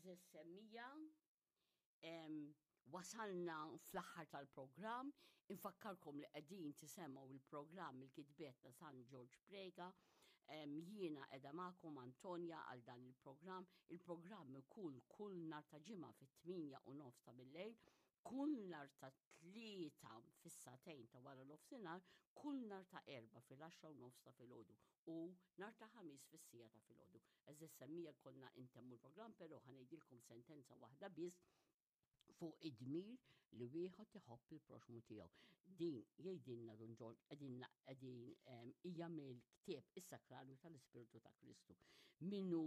Għeżież semmija, wasalna fl-aħħar tal-programm, infakkarkom li qegħdin tisemgħu il-programm il-kitbiet ta' San Ġorġ Prega, jiena qiegħda magħkom Antonia għal dan il-programm, il-programm ikun kull nhar ta' ġimgħa fit-8 u nofs ta' billejl, kull nhar ta' tlieta fis-sagħtejn ta' wara nofsinhar, kull nhar ta' erba' fil-10 u nofs ta' filgħodu u nhar ta' ħamis fis-sija ta' filgħodu. Eżis semmija konna intemmu l-programm, però ħanejdilkom sentenza waħda biss fuq id-dmir li wieħed iħobb il-proxmu tiegħu. Din jgħidilna Dun Ġorġ qegħdin qegħdin hija mill-ktieb is-Sakrarju tal-Ispirtu ta' Kristu. Minu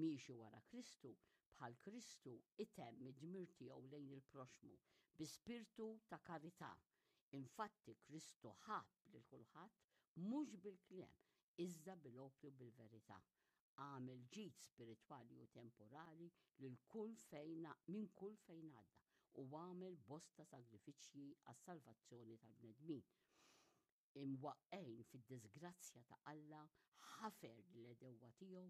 miexi wara Kristu, bħal Kristu itemm id-dmir tiegħu lejn il-proxmu bi spirtu ta' karità. Infatti Kristu ħabb lil kulħadd mhux bil-kliem, iżda bil-opri u bil-verità. Għamel ġid spiritwali u temporali lil kull fejn minn kull fejn għadda u għamel bosta sagrifiċċji għas-salvazzjoni tal-bnedmin. Imwaqqgħin fid-diżgrazzja ta' Alla, ħafer lill-għedewwa tiegħu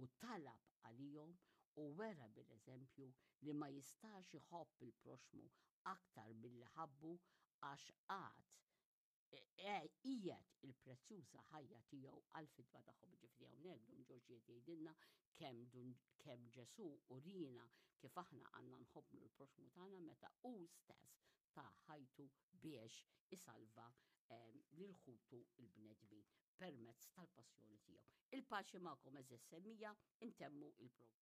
u talab għalihom u wera bil-eżempju li ma jistax iħobb il-proxxmu aktar milli ħabbu għax għad qiegħed il-prezzjuża ħajja tiegħu għall-fidwa tagħhom. Ġifieri hawnhekk Dun Ġorġ qed jgħidilna kemm kemm Ġesù urina kif aħna għandna nħobbnu l-proxxmu tagħna meta hu stess ta ħajtu biex isalva ehm, lil ħutu il-bnedmin permezz tal-passjoni tiegħu. Il-paċi magħkom eżis semmija intemmu il-programm.